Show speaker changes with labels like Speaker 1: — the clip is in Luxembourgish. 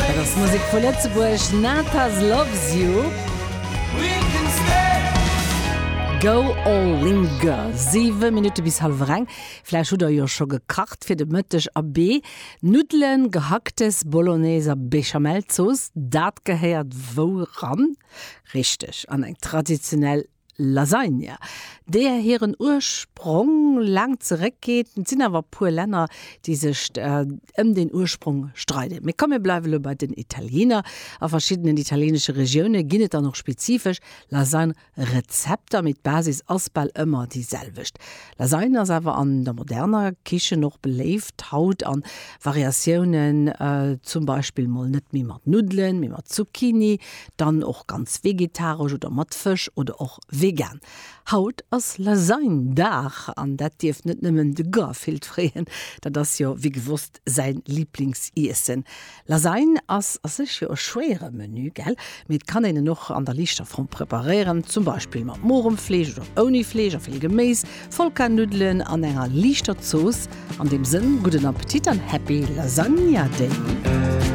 Speaker 1: Dat ass Musek vu Lëtzebuerg, Natas Loves You. Go All Linger. 7 Minutte bis hallwer eng. Vläicht hutt der jo scho gekacht fir de Mëtteg. Abee, Nuddelen, Gehacktes, Bolognese a Béchamelzooss, dat gehéiert wou ran? Richteg, an eng traditionell Lasagne, deeër hiren Ursprong laang zeréckgeet. Et sinn awer e puer Länner, déi sech ëm deen Ursprong streiden. Mee komm mir bleiwe lo bei den Italiener. A verschiddenen italieenesche Regioune ginn et dann och spezifesch Lasagne-Rezepter, mee d'Basis ass bal ëmmer déi selwecht. Lasagne ass awer an der moderner Kichen och beléift haut an Variatiounen, zum Beispill mol net méi mat Nuddelen, mee mat Zucchini, Dann och ganz vegetaresch oder mat Fësch oder och vegan. Haut ass Lasagne Dag an dat dierft net nëmmen de Garfield freeën, dat ass jo wéi gewosst säin Liblingsiessen. Lasagne ass a sech jo e schwéiere Menü, gell? Mee et kann een en och an der liichter Form preparéieren, zum Beispill mat morem Fleesch oder ouni Fleesch a vill Geméis, Vollkarnuddelen an enger liichter Zooss. An deem Sënn, gudden Appetit an Happy Lasagna Day!